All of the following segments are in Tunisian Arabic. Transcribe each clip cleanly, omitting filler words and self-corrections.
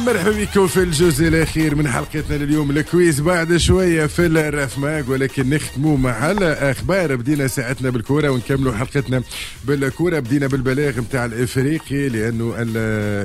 مرحبا بكم في الجزء الاخير من حلقتنا لليوم، ال quiz بعد شوية في الراف ماغ، ولكن نختموا مع الاخبار. بدينا ساعتنا بالكورة ونكملوا حلقتنا بالكوره. بدينا بالبلاغ نتاع الافريقي، لانه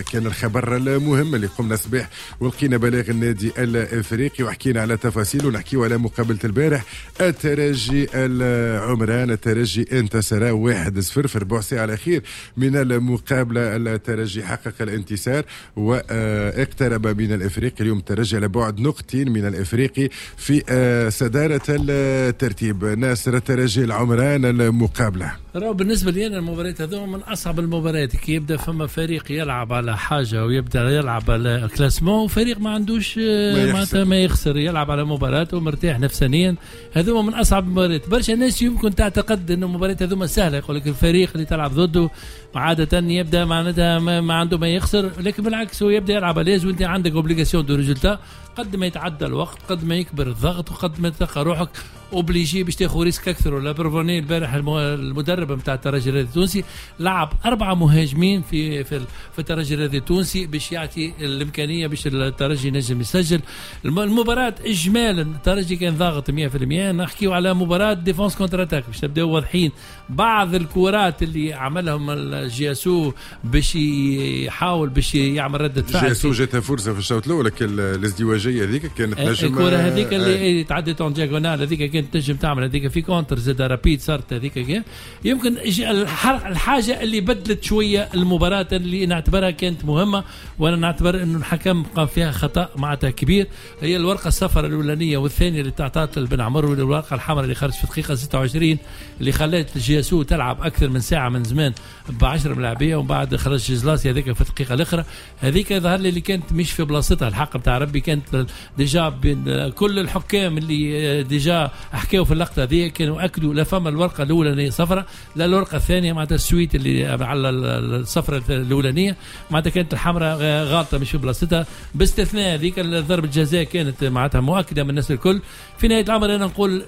كان الخبر المهم اللي قمنا الصباح ولقينا بلاغ النادي الافريقي وحكينا على تفاصيل، ونحكيو على مقابله البارح الترجي العمران. الترجي انتصر 1-0 في ربع ساعة الاخير من المقابله. الترجي حقق الانتصار واقترب من الافريقي. اليوم الترجي على بعد نقطتين من الافريقي في صدارة الترتيب. ناصر، الترجي العمران المقابله. راهو بالنسبة لي انا المباريات هذوما من اصعب المباريات، كي يبدا فما فريق يلعب على حاجة ويبدا يلعب على classement، وفريق ما عندوش معناتها ما يخسر، يلعب على مباراة ومرتاح نفسانيا. هذوما من اصعب المباريات. برشا ناس يمكن تعتقد انه المباريات هذوما سهله، يقول لك الفريق اللي تلعب ضده عادة يبدا معناتها ما عنده ما يخسر، لكن بالعكس هو يبدا يلعب à l'aise وانت عندك obligation de résultat. قد ما يتعدى الوقت قد ما يكبر الضغط وقد ما تلقى روحك obligé باش تاخذ risque اكثر. و la preuve البارح المدرب نتاع الترجي الرياضي التونسي لعب اربعة مهاجمين في الترجي الرياضي التونسي باش يعطي الامكانية باش الترجي ينجم يسجل. المباراة اجمالا الترجي كان ضاغط 100%. نحكيو على مباراة défense contre-attaque باش نبداو واضحين. بعض الكرات اللي عملهم ال JSO باش يحاول باش يعمل رده فعل. JSO جاتها فرصة في الشوط الاول، لكن الازدواجيه هذيك كانت نجم. الكره هذيك اللي تعدت en diagonale هذيك كانت تنجم تعمل هذيك في contre زاد rapide صارت هذيك. يمكن الحاجة اللي بدلت شوية المباراة اللي نعتبرها كانت مهمه، وانا نعتبر انه الحكم قام فيها خطا معناتها كبير، هي الورقة الصفراء الاولانية والثانية اللي تعطات لبن عمر، والورقة الحمراء اللي خرجت في الدقيقة 26 اللي خلت JSO تلعب اكثر من ساعة من زمان ب 10 ملاعبيه، ومن بعد خرج جزلاسي هذيك في الدقيقة الاخرى. هذيك ظهر لي اللي كانت مش في بلاصتها. الحق بتاع ربي كانت déjà بين كل الحكام اللي déjà حكاوا في اللقطة هذه كانوا اكدوا لا فما الورقة الاولانية صفراء لا الورقة الثانيه، معناتها ال suite اللي على الصفراء الاولانية معناتها كانت الحمراء غالطه مش في بلاصتها، باستثناء هذيك ضربه الجزاء كانت معناتها مؤكدة من الناس الكل. في نهاية الامر انا نقول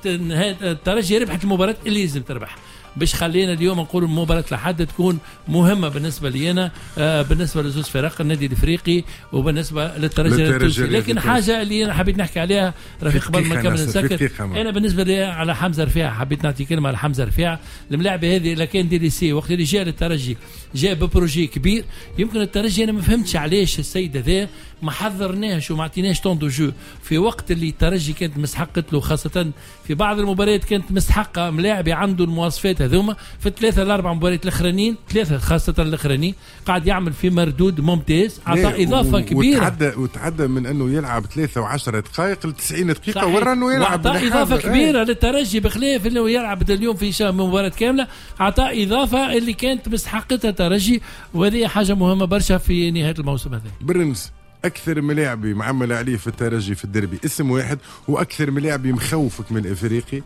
نهاية الترجي ربحت المباراة اللي لازم تربح، باش خلينا اليوم نقول مباراة لحد تكون مهمة بالنسبة لي بالنسبة لزوج فرق، النادي الافريقي وبالنسبة للترجي التونسي. لكن حاجة اللي انا حبيت نحكي عليها رفيق قبل ما نكمل نسكر، انا بالنسبة لي على حمزة رفيعة، حبيت نعطي كلمة على حمزة رفيعة. الملاعب هذه لكان délaissé وقت اللي جاء للترجي جاء ب projet كبير. يمكن الترجي انا ما فهمتش علاش السيد هذا ما حضرناهش وما عطيناش temps de jeu في وقت اللي الترجي كانت مستحقت له، خاصة في بعض المباريات كانت مستحقة ملاعب عنده المواصفات هذوما. في الثلاثة الأربع مباريات الأخرانيين، ثلاثة خاصة الأخرانيين، قاعد يعمل في مردود ممتاز، عطى إضافة كبيرة. وتعدى من أنه يلعب 3 و10 دقائق ل 90 دقيقة، ورا أنه يلعب. وعطى إضافة كبيرة للترجي، بخلاف أنه يلعب اليوم في مباراة كاملة، عطى إضافة اللي كانت مستحقتها الترجي، وهذه حاجة مهمة برشا في نهاية الموسم هذا. برنس، اكثر ملاعبي معمل عليه في الترجي في الدربي اسم واحد، واكثر ملاعبي مخوفك من الافريقي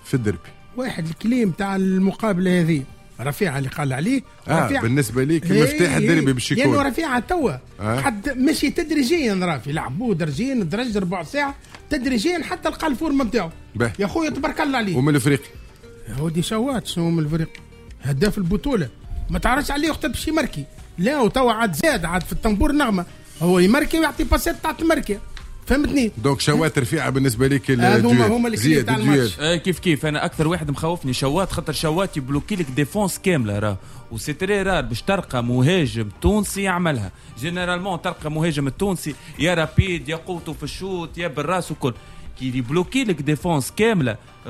في الدربي؟ واحد، ال clé تاع المقابلة هذه رفيعة اللي قال عليه. رفيعة بالنسبة ليك مفتاح الدربي باش يكون؟ لانه رفيعة توا حد مشي تدريجيا، رافي لعبوه درجين درج ربع ساعة تدريجيا حتى لقى ال forme نتاعو. يا خويا تبارك الله عليه. ومن الافريقي؟ هو دي شوات. شنو من الفريق؟ هداف البطوله، ما تعرفش عليه وقت باش يمركي. لا وتوا عاد زاد عاد في الطنبور نغمه، هو يمركي ويعطي passes تاع تمركي، فهمتني؟ donc شوات رفيعة بالنسبة لك. هذوما هما اللي تاع الماتش. كيف كيف، انا اكثر واحد مخوفني شوات، خاطر شوات يبلوكي لك défense كاملة راه، و c'est très rare باش تلقى مهاجم تونسي يعملها. généralement تلقى مهاجم التونسي يا rapide يا قوته في ال shoot يا بالراس وكل، كي يبلوكي لك défense كامله.